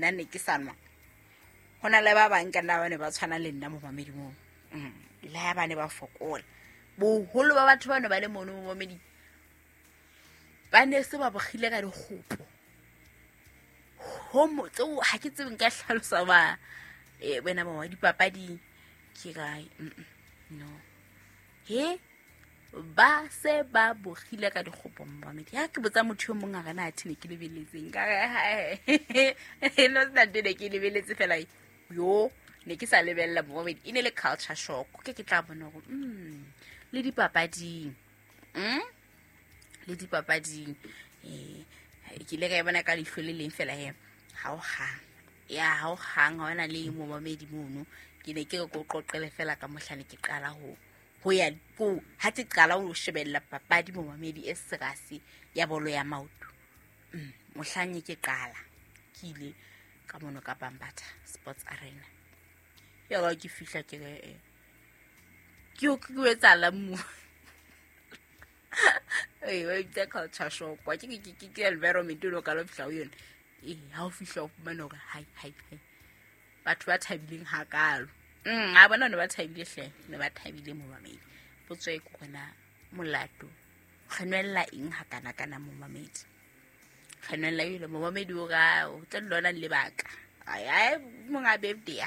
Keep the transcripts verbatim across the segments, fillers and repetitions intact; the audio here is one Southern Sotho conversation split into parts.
Nna ne ke sa nwa. Ho na le ba bang ka nna ba ne ba tshwana le nna momamedi moo. Mm. Le ha ba ne ba fokola. Boholo ba batho ba ne ba le mono momamedi ba ne se ba bogile ka dikgopo. Ho mo tseo ha ke tsebe nka hlalosa ba eh wena ba wa dipapading ke kae. No. He ba se ba bogile ka dikgopo momamedi. Ha ke botsa motho yo mong a re na athe ne ke lebeletseng ka re no sna ne ke lebeletse fela yo ne ke sa lebella momamedi. E ne le culture shock ke ke tla bona hore mm le dipapading mm le dipapading eh ke ile ka e bona ka leihlo le leng fela he ha o hang ya ha o hang ha ona le momamedi mono. Ke ne ke re ko qoqele fela ka mohlane ke qala ho ho ya ko ha ke qala ho shebella papadi momamedi e serasi ya bolo ya maoto. Mm mohlane ke qala ke ile ka mono ka Bambatha Sports Arena. Ya ga ke fihla ke re ke o ke etsa la mo eh wa itse culture shock wa ke ke ke ke environment lo ka lo fihla ho yona. Eh ha o fihla o fumana hore hai hai hai batho ba thabileng hakalo. Mm a bona ne ba thabile hle ne ba thabile momamedi. Potso e ke gona molato re nwella eng hakana kana momamedi. Re nwella ile momamedi o ga o tla lona lebaka. Ai ai monga birthday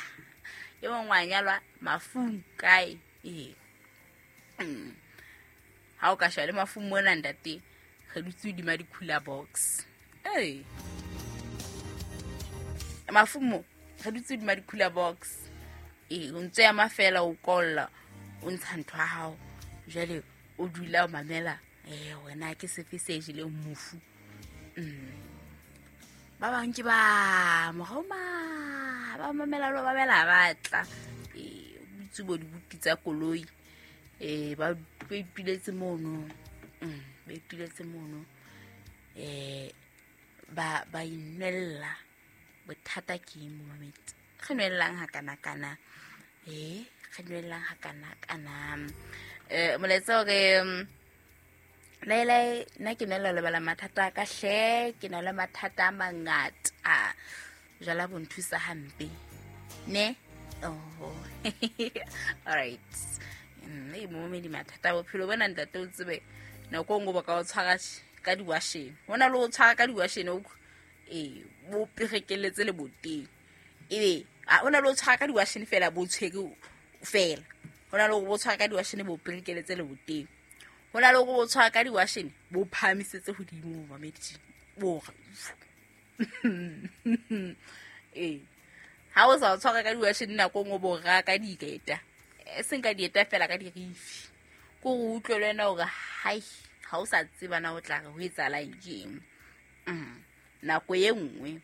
e mong wa nyalwa mafung kae eh. Mm. Ha o ka shwa le mafung mona ntate re dutse hodima di-cooler box. Eh. Mafung mo re dutse hodima di-cooler box. Eh o ntse ya mafela o kolla o ntsha ntho ya hao jwale o dula o mamela eh wena ke sefe se jeleng mofu. Mm. Ba bang ke ba moroma ba mamela lo mamela ba tla eh butse bo dibuti tsa koloi eh ba ipiletse mono. Mm ba ipiletse mono eh ba ba inwella bothata ke momamedi. Re nwellang ha kana kana eh re nwellang ha kana kana eh molaetsa hore Lele nna ke nela lebala mathata ka hle ke na le mathata a mangata jala bo nthusa hampe ne. Oh all right nne momamedi mathata a bophelo bona ntate o tsebe nako nngwe ba ka o tshwara ka diwashene hona le o tshwara ka diwashene o eh bo perekeletse le boteng ebe a ona le o tshwara ka diwashene fela bo tshwere fela hona le bo tshwara ka diwashene bo perekeletse le boteng hona le bo tshwara ka diwashene bo phahamisetse hodimo momamedi bo eh ha o sa tshwara ka diwashene nako nngwe bo ra ka dieta e seng ka dieta fela ka dirifi ko o utlwe le wena hore hai ha o sa tseba na o tla re ho etsahala eng. Mm nako e nngwe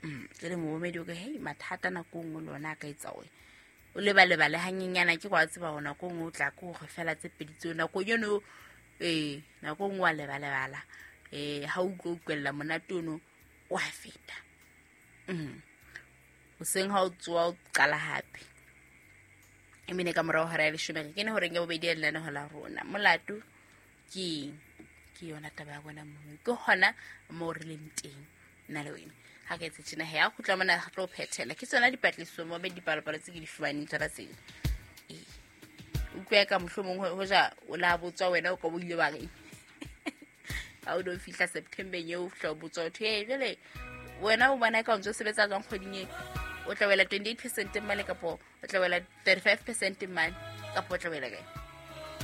mm ke le momamedi o ke hey mathata nako nngwe lona a ka etsa hore o lebalebale hanyenyana ke kwa tseba hore nako nngwe o tla ke hore fela tse pedi tseo nako eno eh nako nngwe wa lebalebala eh ha o utlwa utlwella monate ono o a feta. Mm hoseng ha o tsoa o qala hape e mene ka morao hora ya leshome re kene horeng ya bobedi ya lenaneo la rona molato ke ke yona taba ya bona mo ke hona mo re leng teng nna le wena ha ke etse tjena he a kgutla mona re tlo phethela ke tsona dipatlisiso mo be dipalopalo tse ke di fumaneng tsona tsena eh utlwe ka mohlomong ho ja o la botswa wena o ka bo ile ba reng ha o do fihla September eo o fihla o botswa ho thwe jwale wena o bona ka o ntse o sebetsa jwang kgweding e o tla wela twenty-eight percent mane kapo o tla wela thirty-five percent mane kapo o tla wela kae.